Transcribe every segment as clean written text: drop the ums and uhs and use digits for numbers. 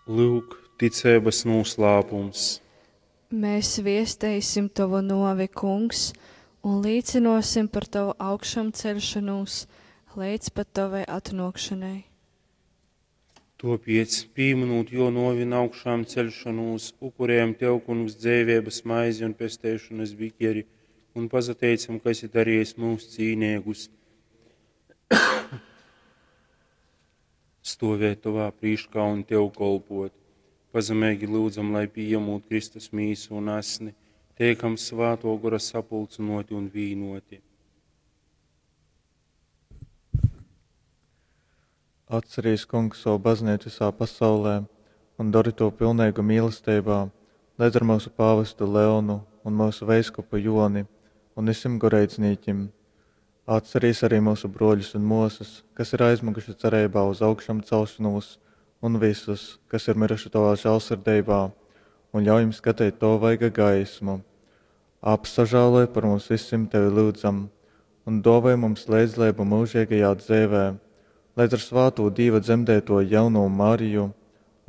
Lyuk, ticeibys nūslāpums. Mēs viesteisim Tovu nuovi, Kungs, un līcynuosim par Tovu augšamceļšonūs leidz pat Tovai atnuokšonai. Tuopiec, pīmynūt Juo nuovi un augšāmceļšonūs, upurejam Tev, Kungs, dzeiveibys maizi un pesteišonys bikeri un pasateicam, ka esi darejis myus cīneigus stuovēt Tovā prīškā un Tev kolpuot. Pazemeigi lyudzam, lai pījamūt Kristus mīsu un asni, teikam Svātuo Gora sapulcynuoti un vīnuoti. Atcerīs, Kungs, savu baznīcu visā pasaulē un dori to pilneigu mīlesteibā, leidz ar myusu pāvestu Leonu un myusu veiskupu Joni un visim goreidznīkim. Atcerīs arī myusu brōļus un mōsas, kas ir aizmyguši cereibā uz augšamcelšonūs, un vysus, kas ir myruši tovā žālsirdeibā, un ļauj jim skateit tova vaiga gaismu. Apsažāloj par mums visim, tevi lyudzam, un dōvoj mums leidzleibu myužeigajā dzeivē, leidz ar svātū Dīva dzemdeitōju jaunū Mariju,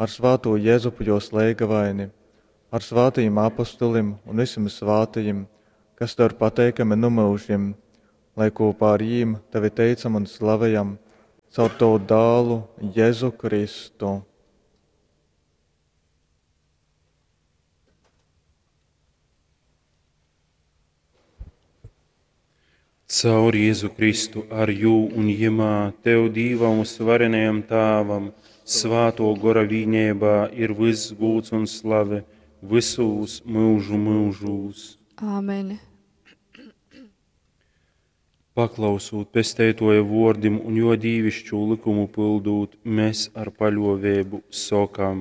ar svātū Jezupu jōs leigavaini, ar svātajim apostolim un visim svātajim, kas tev ir pateikami nu myužim, lai kūpā ar jīm tevi teicam un slavejam caur tovu dālu Jezu Kristu. Caur Jēzu Kristu, ar jū un jimā, Tev, Dīvam vysuvarenajam Tāvam, Svātuo Gora vīneibā ir vyss gūds un slave vysūs myužu myužūs. Āmen. Paklausūt Pesteituoja vuordim un juo dīviškū lykumu pyldūt, mes ar paļuoveibu sokam.